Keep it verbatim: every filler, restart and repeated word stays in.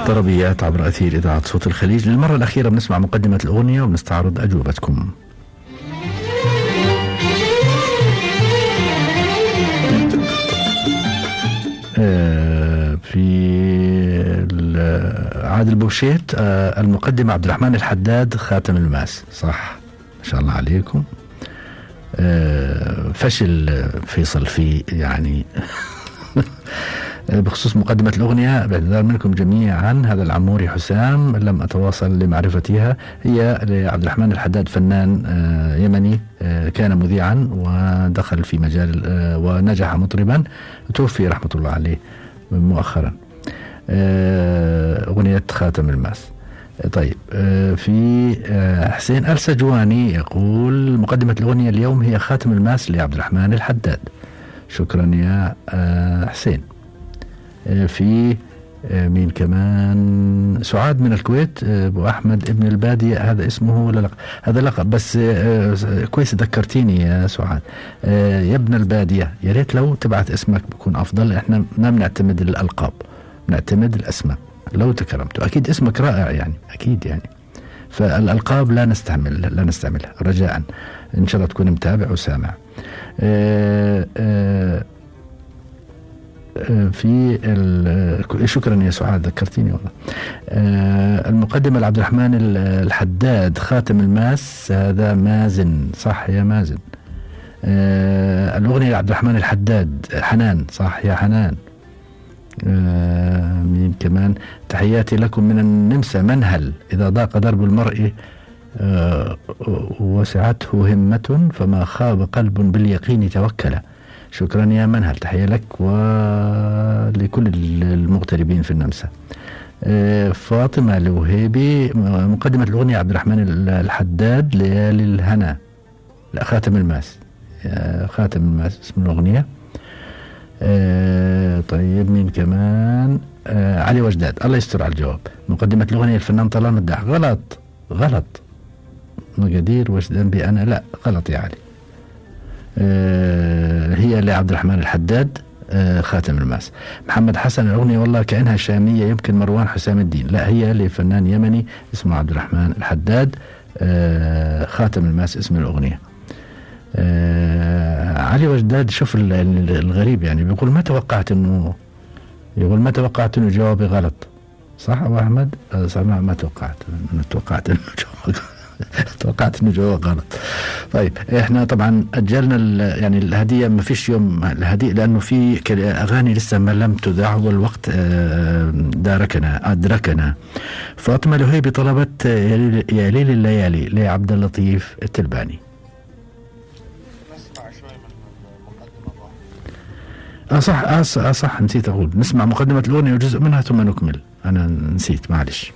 طربيات عبر أثير إذاعة صوت الخليج. للمرة الأخيرة بنسمع مقدمة الأغنية وبنستعرض أجوبتكم. في عادل بوشيت المقدمة عبد الرحمن الحداد خاتم الماس. صح، ما شاء الله عليكم. فشل فيصل في يعني بخصوص مقدمة الأغنية، باعتذار منكم جميعا. هذا العموري حسام لم أتواصل لمعرفتها. هي لعبد الرحمن الحداد، فنان يمني كان مذيعا ودخل في مجال ونجح مطربا، توفي رحمة الله عليه مؤخرا. أغنية خاتم الماس. طيب، في حسين السجواني يقول مقدمة الأغنية اليوم هي خاتم الماس لعبد الرحمن الحداد. شكرا يا حسين. في مين كمان؟ سعاد من الكويت، ابو احمد ابن البادية، هذا اسمه ولا لقب؟ هذا لقب، بس كويس ذكرتيني يا سعاد. يا ابن البادية، يا ريت لو تبعت اسمك بكون افضل. احنا ما بنعتمد الالقاب، بنعتمد الاسماء. لو تكرمت، اكيد اسمك رائع يعني، اكيد يعني، فالالقاب لا نستعمل لا نستعملها رجاء. ان شاء الله تكون متابع وسامع. أه أه في شكرا يا سعاد، ذكرتيني والله. أه المقدمة لعبد الرحمن الحداد خاتم الماس، هذا مازن. صح يا مازن. أه الأغنية لعبد الرحمن الحداد حنان. صح يا حنان. أه مين كمان؟ تحياتي لكم من النمسا منهل. إذا ضاق درب المرء أه وسعته همة فما خاب قلب باليقين توكل. شكرا يا منهل، تحية لك ولكل المغتربين في النمسا. فاطمة الوهيبي مقدمة الأغنية عبد الرحمن الحداد ليالي الهنا. لا، خاتم الماس. خاتم الماس اسم الأغنية. طيب، مين كمان؟ علي وجداد، الله يستر على الجواب. مقدمة الأغنية الفنان طلال مداح. غلط غلط. مقادير وجدان بأنا، لا غلط يا علي. آه هي لعبد الرحمن الحداد آه خاتم الماس. محمد حسن الأغنية والله كأنها شامية، يمكن مروان حسام الدين. لا، هي لفنان يمني اسمه عبد الرحمن الحداد. آه خاتم الماس اسم الأغنية. آه علي وجداد، شوف الغريب يعني، بيقول ما توقعت انه يقول ما توقعت انه جوابي غلط. صح ابو احمد؟ آه صح، ما, ما توقعت انه توقعت انه جوابي توقعت انه جواب غلط. طيب، احنا طبعا اجلنا يعني الهديه، ما فيش يوم الهديه لانه في اغاني لسه ما لم تذاع والوقت داركنا ادركنا. فاطمه الوهيبي طلبت يا ليل الليالي لعبد اللطيف التلباني. نسمع شوي من المقدمه. اه صح اه صح نسيت اقول، نسمع مقدمه الاغنيه وجزء منها ثم نكمل. انا نسيت، معلش.